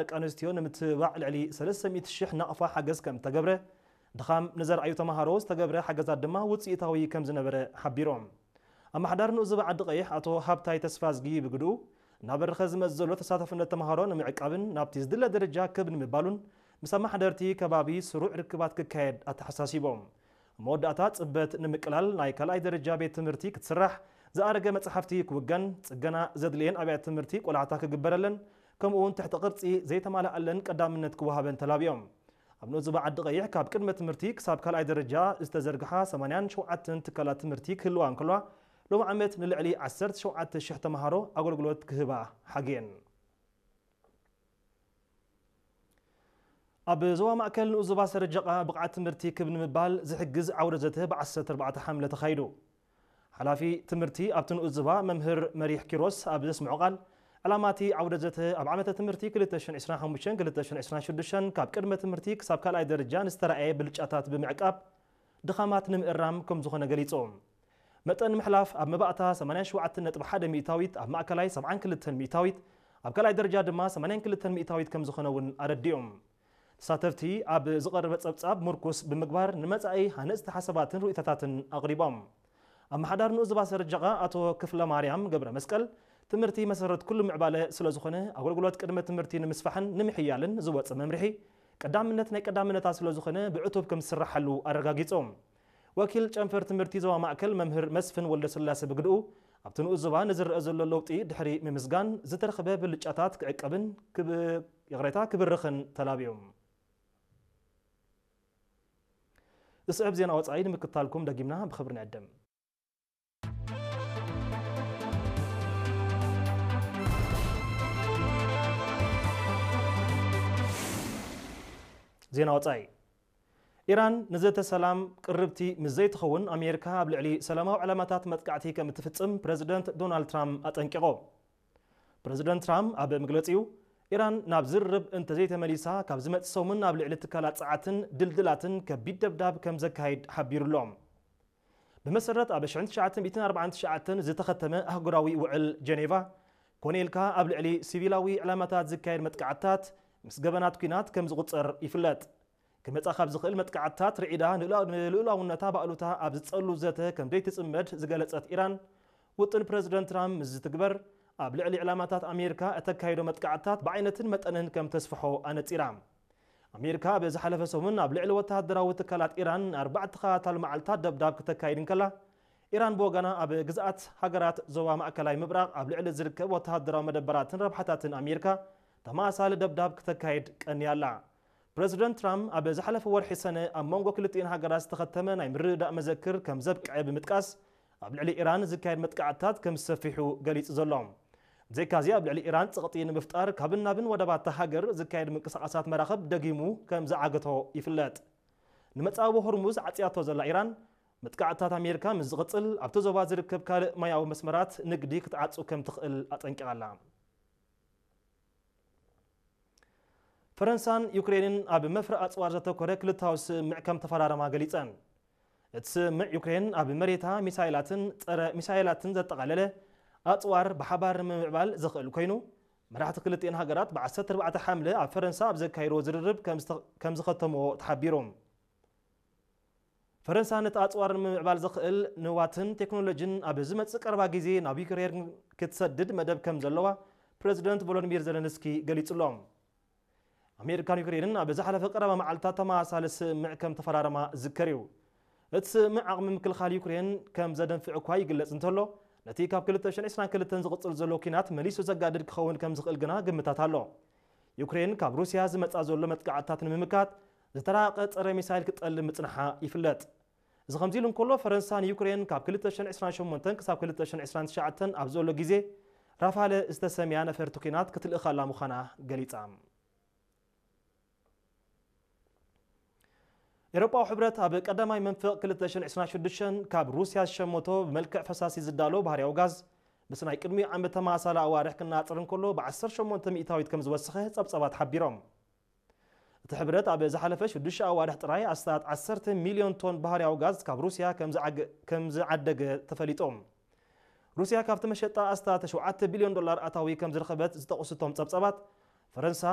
ደቂ ኣንስትዮ ንምትብባዕ ልዕሊ ሰለስተ ሚእቲ ሽሕ ናቕፋ ሓገዝ ከም እተገብረ፣ ድኻም ንዘርኣዩ ተምሃሮ ዝተገብረ ሓገዛት ድማ ውፅኢታዊ ከም ዝነበረ ሓቢሮም። ኣመሓዳሪ ንኡዝ ዞባ ዓዲ ቀይሕ ኣቶ ሃብታይ ተስፋዝጊ ብግድኡ፣ እናበረኸ ዝመጽእ ዘሎ ተሳታፍነት ተምሃሮ ንምዕቃብን ናብቲ ዝድለ ደረጃ ክብ ንምባሉን፣ ምስ ኣመሓደርቲ ከባቢ ስሩዕ ርክባት ክካየድ ኣተሓሳሲቦም። ኣብ መወዳእታ ጽበት ንምቅላል ናይ ካልኣይ ደረጃ ቤት ትምህርቲ ክትስራሕ፣ ዝኣረገ መጽሓፍቲ ክውገን፣ ጽገና ዘድልየን ኣብያተ ትምህርቲ ቆላሕታ ክግበረለን፣ ከምኡ እውን ትሕቲ ቅርጺ ዘይተማልኣለን ቀዳምነት ክወሃበን ተላቢዮም። ኣብ ንኡዝ ዞባ ዓዲ ቀይሕ ካብ ቅድመ ትምህርቲ ክሳብ ካልኣይ ደረጃ ዝተዘርግሓ ሰማንያን ሸውዓተን ትካላት ትምህርቲ ክህልዋ እንከልዋ፣ ሎም ዓመት ንልዕሊ ዓሰርተ ሸውዓተ ሽሕ ተምሃሮ ኣገልግሎት ክህባ ሓግየን። ኣብ ዞባ ማእከል ንኡዝ ዞባ ሰረጀቓ ብቕዓት ትምህርቲ ክብ ንምባል ዝሕግዝ ዓውደ ዘተ ብ ዓሰርተ ኣርባዕተ ሓምለ ተኻይዱ። ሓላፊ ትምህርቲ ኣብቲ ንኡዝ ዞባ መምህር መሪሕ ኪሮስ ኣብ ዘስምዖ ቃል፣ ዕላማ እቲ ዓውደ ዘተ ኣብ ዓመተ ትምህርቲ ክልተ ሽሕን ዕስራን ሓሙሽተን ክልተ ሽሕን ዕስራን ሽዱሽተን ካብ ቅድመ ትምህርቲ ክሳብ ካልኣይ ደረጃ ንዝተራእየ ብልጫታት ብምዕቃብ ድኻማት ንምእራም ከም ዝኾነ ገሊጹ። መጠን ምሕላፍ ኣብ መባእታ ሰማንያን ሸውዓተን ነጥቢ ሓደ ሚእታዊት፣ ኣብ ማእከላይ ሰብዓን ክልተን ሚእታዊት፣ ኣብ ካልኣይ ደረጃ ድማ ሰማንያን ክልተን ሚእታዊት ከም ዝኾነ እውን ኣረዲኦም። ተሳተፍቲ ኣብ ዝቐረበ ጸብጻብ ምርኩስ ብምግባር ንመጻኢ ሃነጽቲ ሓሳባትን ርእይቶታትን ኣቕሪቦም። ኣመሓዳሪ ንኡዝ ዞባ ሰረጀቓ ኣቶ ክፍለ ማርያም ገብረ መስቀል፣ ትምህርቲ መሰረት ኩሉ ምዕባለ ስለ ዝኾነ ኣገልግሎት ቅድመ ትምህርቲ ንምስፋሕን ንምሕያልን ዝወጸ መምርሒ ቀዳምነት ናይ ቀዳምነታት ስለ ዝኾነ ብዕቱብ ከም ዝስራሓሉ ኣረጋጊጾም። ወኪል ጨንፈር ትምህርቲ ዞባ ማእከል መምህር መስፍን ወልደስላሴ ብግድኡ፣ ኣብቲ ንኡዝ ዞባ ንዝረአ ዘሎ ለውጢ ድሕሪ ምምስጋን፣ ዝተረኽበ ብልጫታት ክዕቀብን ክብ-፣ ይቕሬታ፣ ክብርኽን ተላብዮም። ዝስዕብ ዜና ወጻኢ ንምክታልኩም ደጊምና ብኽብሪ ንዕድም። ዜና ወጻኢ። ኢራን ንዘተ ሰላም ቅርብቲ ምስ ዘይትኸውን፣ ኣሜሪካ ኣብ ልዕሊ ሰላማዊ ዕላማታት መጥቃዕቲ ከም እትፍጽም ፕረዚደንት ዶናልድ ትራምፕ ኣጠንቂቖ። ፕረዚደንት ትራምፕ ኣብ መግለጺኡ፣ ኢራን ናብ ዝርርብ እንተዘይተመሊሳ፣ ካብ ዝመጽእ ሰሙን ኣብ ልዕሊ ትካላት ጸዓትን ድልድላትን ከቢድ ደብዳብ ከም ዘካይድ ሓቢሩ ኣሎ። ብመሰረት ኣብ ሽሕን ትሽዓተ ሚእትን ኣርባዓን ትሽዓተን ዝተኸተመ ኣህጉራዊ ውዕል ጀኔቫ፣ ኮነ ኢልካ ኣብ ልዕሊ ሲቪላዊ ዕላማታት ዝካየድ መጥቃዕትታት ምስ ገበናት ኲናት ከም ዝቑጸር ይፍለጥ። ክመጻ ካብ ዝኽእል መጥቃዕትታት ርዒዳ ንልኡላ-፣ ንልኡላውነታ ባእሉታ ኣብ ዝጸሉ ዘተ ከም ዘይትጽመድ ዝገለጸት ኢራን፣ ውጥን ፕረዚደንት ትራምፕ ምስ ዝትግበር፣ ኣብ ልዕሊ ዕላማታት ኣሜሪካ እተካይዶ መጥቃዕትታት ብዓይነትን መጠንን ከም ተስፍሖ ኣነጺራ። ኣሜሪካ ኣብ ዝሓለፈ ሰሙን ኣብ ልዕሊ ወተሃደራዊ ትካላት ኢራን ንኣርባዕተ ተኸታታሊ መዓልታት ደብዳብ ክተካይድ እንከላ፣ ኢራን ብወገና ኣብ ግዝኣት ሃገራት ዞባ ማእከላይ ምብራቕ ኣብ ልዕሊ ዝርከብ ወተሃደራዊ መደበራትን ረብሓታትን ኣሜሪካ ተመሳሳሊ ደብዳብ ክተካይድ ቀንያ ኣላ። ፕረዚደንት ትራምፕ ኣብ ዝሓለፈ ወርሒ ሰነ ኣብ መንጎ ክልቲኤን ሃገራት ዝተኸተመ ናይ ምርድዳእ መዘክር ከም ዘብቅዐ ብምጥቃስ፣ ኣብ ልዕሊ ኢራን ዝካየድ መጥቃዕትታት ከም ዝሰፊሑ ገሊጹ ዘሎ። ብዘይካዚ ኣብ ልዕሊ ኢራን ጸቕጢ ንምፍጣር ካብን ናብን ወደባት እታ ሃገር ዝካየድ ምንቅስቓሳት መራኽብ ደጊሙ ከም ዝዓገቶ ይፍለጥ። ንመጻወ ሆርሙዝ ዓጽያቶ ዘላ ኢራን፣ መጥቃዕትታት ኣሜሪካ ምስ ዝቕጽል፣ ኣብቲ ዞባ ዝርከብ ካልእ ማያዊ መስመራት ንግዲ ክትዓጹ ከም ትኽእል ኣጠንቂቓ ኣላ። ፈረንሳን ዩክሬንን ኣብ መፍረ ኣጽዋር ዘተኮረ ክልታዊ ስምምዕ ከም ተፈራረማ ገሊጸን። እቲ ስምምዕ ዩክሬን ኣብ መሬታ ሚሳይላትን ጸረ ሚሳይላትን ዘጠቓለለ ኣጽዋር ብሓባር ንምምዕባል ዘኽእል ኮይኑ፣ መራሕቲ ክልቲኤን ሃገራት ብ ዓሰርተ ኣርባዕተ ሓምለ ኣብ ፈረንሳ ኣብ ዘካየድዎ ዝርርብ ከም ዝተ-፣ ከም ዝኸተምዎ ተሓቢሩ። ፈረንሳ ነቲ ኣጽዋር ንምምዕባል ዘኽእል ንዋትን ቴክኖሎጂን ኣብ ዝመጽእ ቀረባ ግዜ ናብ ዩክሬን ክትሰድድ መደብ ከም ዘለዋ ፕረዚደንት ቮሎዲሚር ዘለንስኪ ገሊጹ ኣሎ። ኣሜሪካን ዩክሬንን ኣብ ዝሓለፈ ቀረባ መዓልታት ተመሳሳሊ ስምምዕ ከም ተፈራረማ ዝዝከር እዩ። እቲ ስምምዕ ዓቕሚ ምክልኻል ዩክሬን ከም ዘደንፍዕ እኳ ይግለጽ እንተሎ፣ ነቲ ካብ ክልተ ሽሕን ዕስራን ክልተን ዝቕጽል ዘሎ ኲናት መሊሱ ዘጋድድ ክኸውን ከም ዝኽእል ግና ግምታት ኣሎ። ዩክሬን ካብ ሩስያ ዝመጻ ዘሎ መጥቃዕትታት ንምምካት ዝተራቐ ጸረ ሚሳይል ክትጠልብ ምጽንሓ ይፍለጥ። እዚ ከምዚ ኢሉ እንከሎ፣ ፈረንሳ ንዩክሬን ካብ ክልተ ሽሕን ዕስራን ሸሞንተን ክሳብ ክልተ ሽሕን ዕስራን ትሽዓተን ኣብ ዘሎ ግዜ ራፋለ ዝተሰምያ ነፈርቲ ኲናት ክትልእኻላ ምዃና ገሊጻ። ኤውሮጳዊ ሕብረት ኣብ ቀዳማይ መንፈቕ ክልተ ሽሕን ዕስራን ሽዱሽተን ካብ ሩስያ ዝሸመቶ ብመልክዕ ፈሳሲ ዝዳሎ ባህርያዊ ጋዝ፣ ምስ ናይ ቅድሚኡ ዓመት ተመሳሳሊ ኣዋርሕ ክነጻጸር እንከሎ ብ ዓሰርተ ሸሞንተ ሚእታዊት ከም ዝወሰኸ ጸብጻባት ሓቢሮም። እቲ ሕብረት ኣብ ዝሓለፈ ሽዱሽተ ኣዋርሕ ጥራይ ኣስታት ዓሰርተ ሚልዮን ቶን ባህርያዊ ጋዝ ካብ ሩስያ ከም ዝዓገ-፣ ከም ዝዓደገ ተፈሊጡ። ሩስያ ካብቲ መሸጣ ኣስታት ሸውዓተ ቢልዮን ዶላር ኣታዊ ከም ዝረኸበት ዝጠቕሱ እቶም ጸብጻባት፣ ፈረንሳ፣